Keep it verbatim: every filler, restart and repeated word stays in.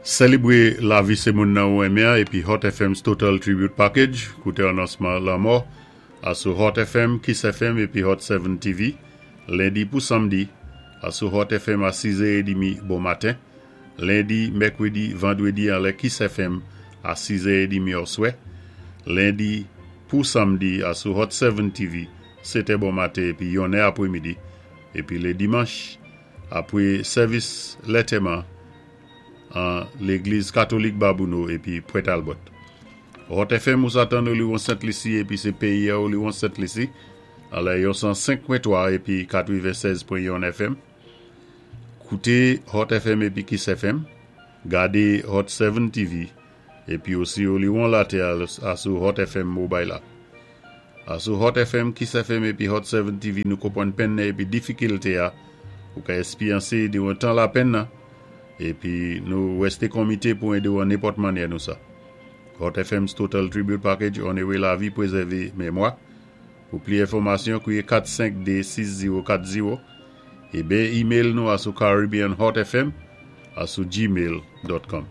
Sélébwé lavi sé moun nan ou enmen épi Hot F M's Total Tribute Package, kouté anonsman lanmò, asou Hot F M, Kiss F M épi Hot sept T V, lendi pou samdi, asou Hot F M a sis è trant bon maten, lendi, mèkwédi, vandwédi anlè Kiss F M a sis è trant oswè, lendi pou samdi asou Hot sept T V, sèt è bon maten épi yonnè apwémidi, épi lé dimanch, apwé sèvis lantèman an légliz katolik Babonneau épi Pointe Albert. Hot F M ou sa tann Oliwon Sent Lisi épi sé péyi Oliwon Sent Lisi anlè yon san senk pwen twa épi katwennsèz pwen yon F M. Kouté Hot F M épi Kiss F M, gadé Hot sept T V épi osi Oliwon latè asou Hot F M mobile la. Asou Hot F M, Kiss F M épi Hot sept T V nou konpwann penn épi difikilté a ou ka éspéryansé diwan tan lapenn nan épi nou wèsté komité pou édé ou an nenpòt mannyè nou sa. Hot F M's Total Tribute Package, onoré lavi, pwézèvé mémwa. Pou pli enfòmasyon, kwiyé kat senk de sis zewo kat zewo é ben email nou asou caribbeanhotfm asou gmail dot com.